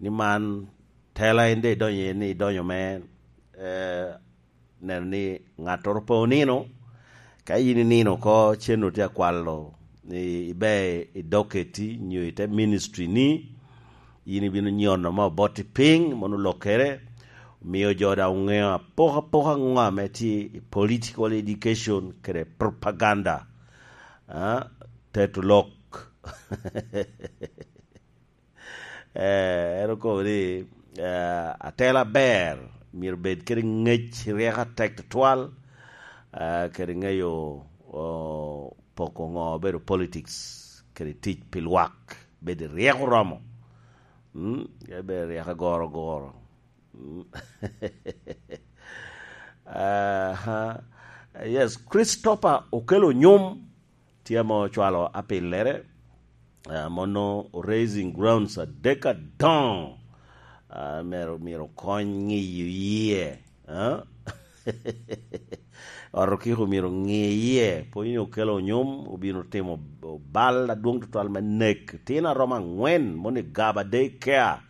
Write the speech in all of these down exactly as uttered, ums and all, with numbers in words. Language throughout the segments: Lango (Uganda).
ni man tela en de idonyo iye ni idonyo me, eh, neno ni ŋattoro pe onino. Ka yin inino oko, cen otye akwalo ni ibe i docket-ti nyo i te ministry-ni, yin ibino nyono me obotti piny, mono olokere, omio jo daŋ oŋeo apoka apoka ŋo ame tye i political education kede propaganda. Ah, teto lok. Eh, en okobo ni, eh, atela ber, myero bed kede ŋec, ryeko atek tutwal, eh, kede ŋeyo, oh, poko ŋo obedo politics, kede tic pi lwak, bed ryeko oromo. Mm, kede bed ryeko agoro agoro. Mm. Aha. Yes, Christopher okelo nyom, tye ame ocwalo apillere, ah, mono o raising grounds adek adoŋo, ah, myero, myero okony ŋiyo yie, ah? Ot okiko myero ŋi yie, pwony ni okelo onyom, obino timo bal adwoŋ tutwal me nek tino aromo angwen, moni Gaba Day Care,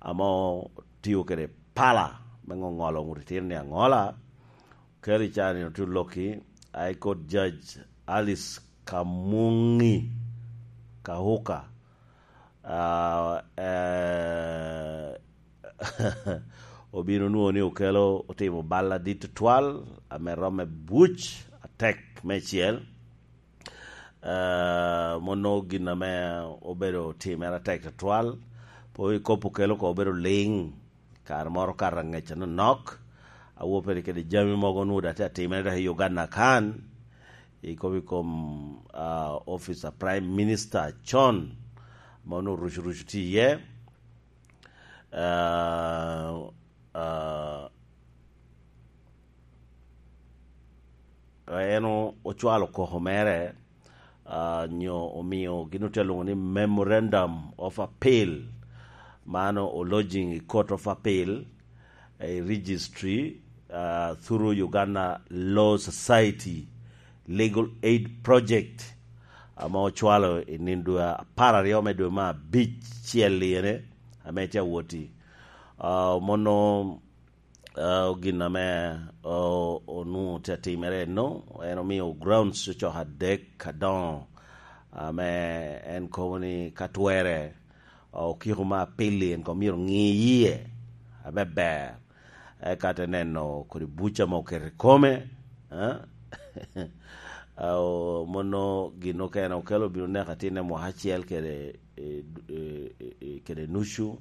ame otio kede pala me ŋoŋolo ŋut itino ni aŋola. Keri cani ote olokki, High Court Judge Alice Kamungi Kahuka, ah, eh, obino nwoŋo ni okelo otimo bal adit tutwal, ame romo buc atek meicel. Eh, mono gin ame obedo timere atek tutwal. Pe ikopo kelo ko obedo ling. Kare moro kato angec anonok, awo pede kede jami mogo onwoŋo dok tye atimere dok i Uganda kan, i kom, i kom, ah, office a Prime Minister con, ma onwoŋo rucu rucu tye iye. Ah, ah, en o-, ocwalo koko mere, ah, nyo omio gin otye alwoŋo ni Memorandum of Appeal, mano o lodging i Court of Appeal, i Registry, ah, through Uganda Law Society Legal Aid Project, ame ocwalo i nino dwe apar aryo me dwe me abicel ene, ame tye awot-ti. Ah, mono, ah, gin ame, o-, onwoŋo tye atimere eno, en omio grounds ocoko adek adoŋo, ame en kobo ni ka twere, okiko me apil-li en koŋ myero ŋi yie aber, eka te neno kodi buc ame oketo i kome, eh? Ah, o-, mono gin okene okelo obino neko atinne mwaka acel kede, eh, eh, eh, kede nucu.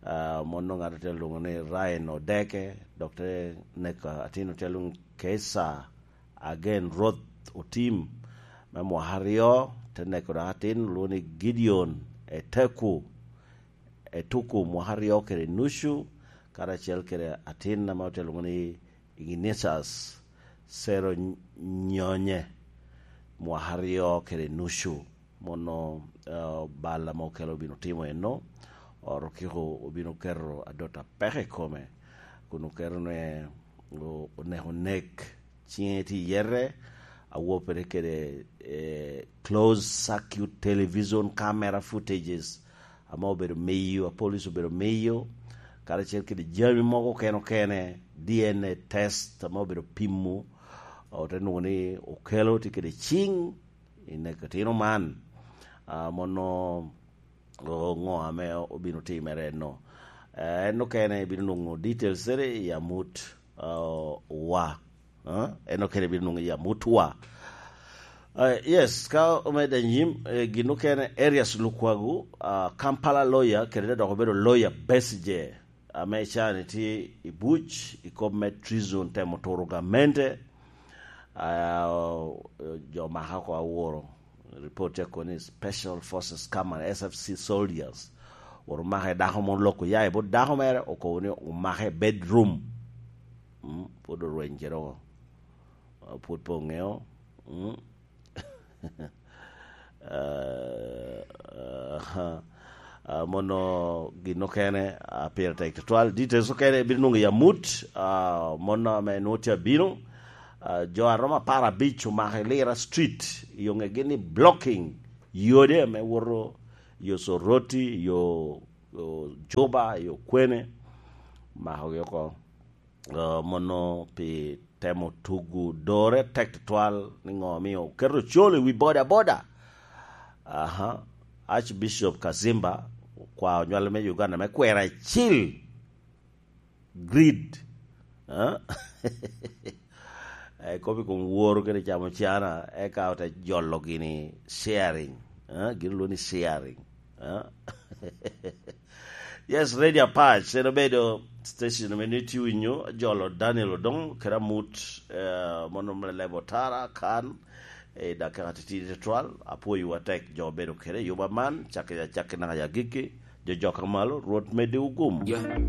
Ah, mono ŋat ote lwoŋo ni Ryan Odeke, dok te neko atin ote lwoŋo Kesa Agen Rwoth Otim me mwaka aryo, te neko dok atin olwoŋo ni Gideon Eteku, Etuku mwaka aryo kede nucu, karacel kede atin ame ote lwoŋo ni Ignatius Sero Nyonye mwaka aryo kede nucu. Mono, eh, bal ame okelo obino timo eno, ot okiko obino keto adot apeke i kome, kun oketo ne o-, oneko nek, ciŋe tye i yete, awo pede kede, eh, closed circuit television camera footages ame obedo miyo, a police obedo miyo, karacel kede jami mogo okene okene, D N A test ame obedo pimo, ote nwoŋo ni okelo tye kede ciŋ i neko tino man. Ah, mono, o-, ŋo ame obino timere eno. Eh, en okene ibino nwoŋo details ene i amut, ah, wa. Ah, en okene ibino nwoŋo i amut wa. Eh, yes, ka omedde anyim, eh, gin okene Erias Lukwago, ah, Kampala lawyer, kede dok obedo lawyer Besigye, ame cani tye i buc i kop me treason, temo turo gamente. Ah, jo maka oko aworo, report tye kono ni Special Forces Command, S F C soldiers, oro maka i dako mo loko ya i bot dako mere, okobo ni omake i bedroom. Mm, pwod orweny kede oko. Ah, pwod pe oŋeo. Mm. Ah, aha. Ah, mono gin okene, ah, pire tek tutwal. Details okene ibino nwoŋo i amut, ah, mono ame nwoŋo tye abino. Ah, jo a romo apar abic omako i Lira Street, i oŋegi ni blocking yode ame woto yo Soroti, yo Juba i okwene, makogi oko. Uh, mono pi temo tugu dore tek tutwal ni ŋo omio oketo col i wi boda boda. Aha. Archbishop Kazimba okwao nywal me Uganda me kwero acil grid. Eh? Eh, kop i kom woro kede camo cana, eka ote jolo gini sharing. Eh? Gin olwongo ni sharing. Eh? Yes, Radio Apac, en obedo station ame ni tye winyo, jolo Daniel Odong, kede amut, eh, mono me lebo tara, kan, i dakika titidi tutwal, apwoyowa tek jo obedo kede i yuba man, cakki acakki naka i agikki, jo jok amalo, Rwot meddi ogum. Yeah.